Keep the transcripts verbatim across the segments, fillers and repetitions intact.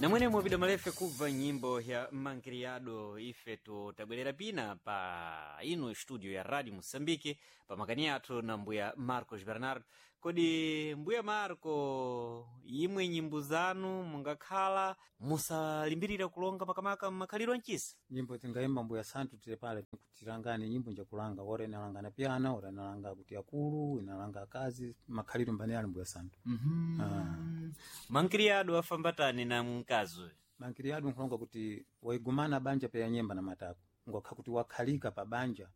Namwene mwapita malefe kubva nyimbo ya mankiriyado ifetu tabwerera pina pa ino studio ya radio moçambique pa makani athu na mbuya Marcos Bernardo. Kodi mbuya Marco, imwe nyimbo zanu mungakhala musalimbirira kulonga makamaka mmakhaliro ancisa? Nyimbo tingayimba, mbuya santu, tili pale kutirangane nyimbo njakulanga ora inalanga na piana, ora inalanga kuti akulu, inalanga akazi, makhaliro mbane ali, mbuya santu. Ah. Mankiriyado afambatani na mkazi uyu? Mankiriyado nkulonga kuti waigumana banja peya nyemba na matako, ngwakha kuti wakhalika pa banja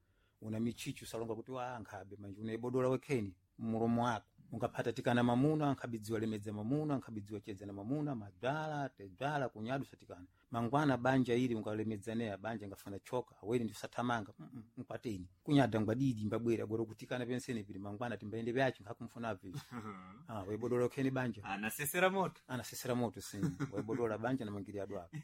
una michichu, salonga kuti wa ankhabe manje unaibodola wekheni mulomo wako ungaphata tikana mamuna, ankhabidziwa lemedza mamuna, ankhabidziwa chedza na mamuna, madwala tedwala kunyadu satikana mangwana banja ili ungalemedzaneya banja ngafana choka awene ndisathamanga mm -mm, nkwateni kunyada ngwadidi mbabwera goro kutikana pensene pili mangwana timbayende vyacho nkhakumfuna vivi. Ah, waibodola wekheni banja. Anasesera moto. Anasesera moto sini waibodola banja na mangiriado ako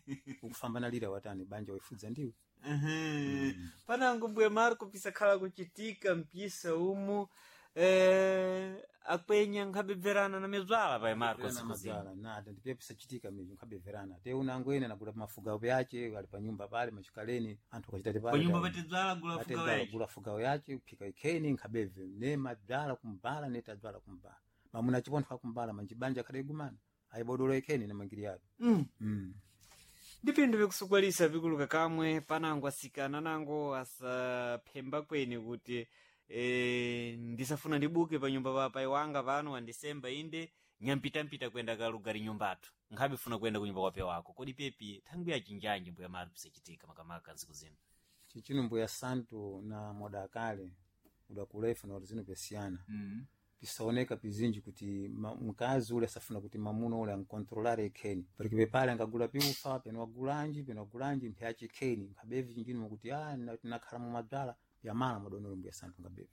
ukufambana lira watani banja waifudza ndiwe. Mm. Panango mbuya Marco pisakhala kuchitika mpisa umu eh, akwenya nkhabebverana na mezwala pa Marco siku zino. Mazala nada ndipe pisachitika mivyo nkhabeverana te unango ene nagula mafugawo yache ali pa nyumba pale machikaleni anthu akachitati pale. Panyumba patedzwala gula fugawo yache. Gula fugawo yache phika ikheni nkhabeve ne madzala kumbala ne tadzala kumbala mamuna chipontho akumbala manjibanja akhale igumana ayibodola ikheni na mangiri yake. Mm. mm. Ndi pinthu vikusukwalisa vikuluka kamwe panango asikana nango asaphemba kweni kuti e, ndisafuna ndibuke pa nyumba pa pai wanga pano andisemba inde nyampitampita kwenda kalugari nyumbatu nkhabe funa kwenda kunyumba kwa wako. Kodi pepi thangwi yachinjanji, mbuya Mari, pisachitika makamaka ntsiku zino? Chichino, mbuya santu, na moda akale udakulefu na zino pyasiyana. mm. Pisaoneka pizinji kuti ma- mkazi ule asafuna kuti mamuna ule ankontrolare ikheni parike pepale angagula piufa peno wagulanji peno wagulanji mpyache ikheni nkhabevi chinjini mukuti a nakhala mumadzala pyamala madonolo, mbuya santu, ngabevi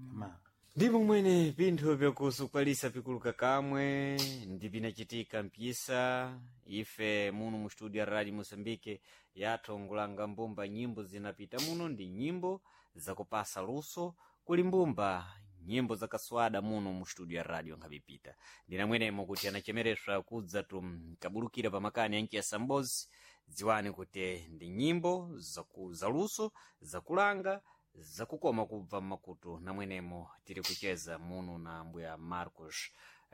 pyamala. Ndipo mwene pinthu vyakusukwalisa pikuluka kamwe ndi pinachitika mpisa ife muno mu studio ya radio Moçambique yathu ngulanga mbumba nyimbo zinapita muno ndi nyimbo zakupasa luso kuli mbumba nyimbo zakaswada muno mu studio ya radio nkhabipita ndinamwenemo kuti anachemereswa kudza tu kabulukira pa makani anchiyasa mbozi. Dziwani kuti ndi nyimbo zaku, zaluso zakulanga zakukoma kubva mmakutu. Namwenemo tiri kucheza muno na mbuya Marcos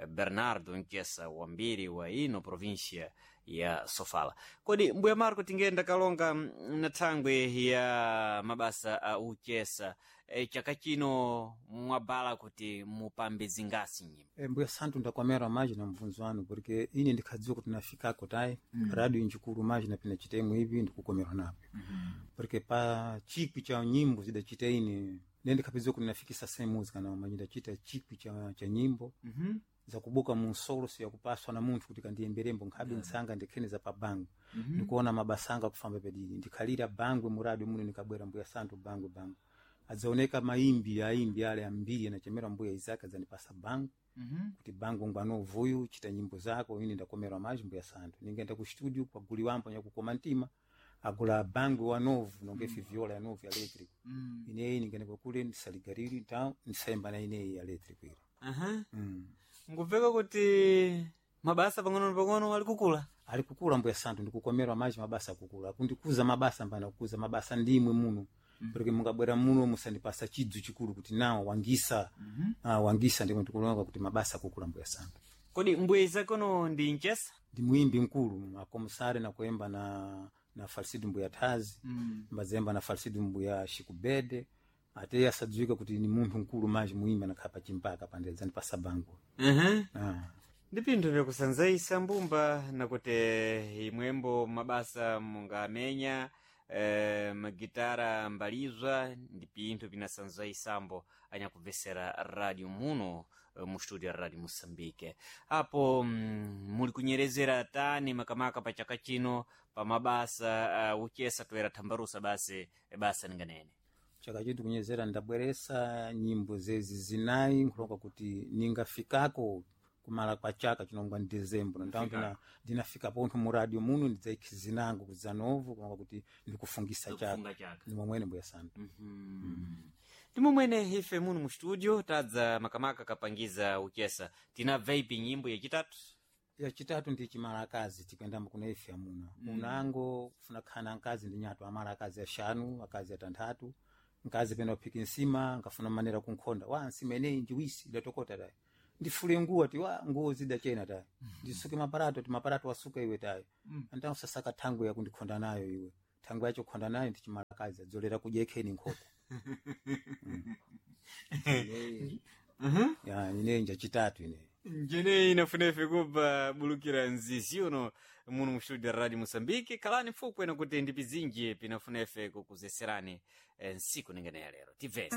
Bernardo mchesa wambiri wa ino provincia ya Sofala. Kodi mbuya Marco, tingenda kalonga mm, na thangwe ya mabasa a uchesa, e, chaka chino mwabala kuti mupambe zingasi nyimbo? E, mbuya santu, ndakwamera maji na mvunzo wanu porque ine ndikhadziwa kuti nafikako tayi mm. radio njikulu maji napina chitemu ivi ndikukomerwa napo mm -hmm. porque pa chikwi cha nyimbo zidachita ine ne ndikhapidziwa kuti nafikisa same music na manyi ndachita chikwi cha, cha nyimbo mm -hmm. zakubuka munsolo siyakupaswa na munthu kuti kandiyemberembo nkhabe yeah. Nsanga ndikhene za pabango mm -hmm. ndikuona mabasanga kufamba pedidi ndikhalira bangwe muradi muno nikabwera, mbuya santu, bangwe bangwe adzaoneka maimbi aimbi ale ambiri anachemera mbuya Isaka adzandipasa bango mm -hmm. kuti bango ngwano uvuyu chita nyimbo zako. Ine ndakomerwa maji, mbuya santu, ningenda ku studio kwaguli wampo nyakukoma mtima agula bangwe wa novu nonge mm. viola ya novu ya electric mm. Ineyi ningenda kwakule ndisaligariri ta ndisayimba na ineyi ya electric ile. Aha. mm. Ngubveka kuti mabasa pang'ono pang'ono ali kukula. Ali kukula, mbuya santu, ndikukomerwa maji, mabasa akukula akundikuza mabasa mbana kukuza mabasa ndimwe muno mm. Porque mungabwera muno musandipasa chidzu chikulu kuti nawo wangisa mm -hmm. Ah, wangisa ndimwe ndikulonga kuti mabasa akukula, mbuya santu. Kodi mbuya Isakono ndi mchesa? Ndi muimbi mkulu akomusare na kuemba na na falsidu mbuya thazi mm. mbazemba na falsidu mbuya shikubede ate asadziwika kuti ni munthu mkulu maji muimbi anakhala pachimpaka pandedzani pasa bango. uh -huh. Ah. Ndi pinthu vyakusanzaisa mbumba nakuti imwembo mabasa mungamenya eh, magitara mbalizwa ndi pinthu pinasanzaisambo anyakubvesera radio muno eh, mu studio ya radio Moçambique apo mm, muli kunyerezera tani makamaka pa chaka chino pa mabasa uh, uchesa toera thambarusa basi basa ninganene? Chaka chitu kunyezera ndabweresa nyimbo zezi zinayi nkulonga kuti ningafikako kumala kwa chaka chinongwa ni dezembro ndau ndina ndinafika pontho mu radio muno ndidzaikhi zinango kudzanovu kulonga kuti ndikufungisa chaka. Kufunga chaka. Ndi momwene, mbuya santu. Ndi momwene ife muno mu studio tadza makamaka kapangiza uchesa tinabva ipi nyimbo yachitatu. Yachitatu ndi chimalakazi tikwendamo kuna ife amuna mm. Unango kufuna khana nkazi ndi nyatu amala akazi ashanu, akazi atanthatu, nkazi pena uphika nsima nkafuna manera kunkhonda wa nsima ineyi njiwisi idatokota tayi, ndifule nguwa ti wa nguwo zidachena tayi, ndisuke maparato ti maparato wasuka iwe tayi mm. Antawo sasaka thangwe yakundikhonda nayo iwe, thangwe yacho khonda nayo ndi chimalakazi adzolera kudya ikheni nkhoko. mm. mm. Ya ineyi njachitatu ineyi. Njeneyi inafunefe kuba bulukira nzizi uno muno mu studio Radio Moçambique. Kalani fupwena kuti ndi pizinji pinafunefe kukuzeserani nsiku ningeneya lero tivese.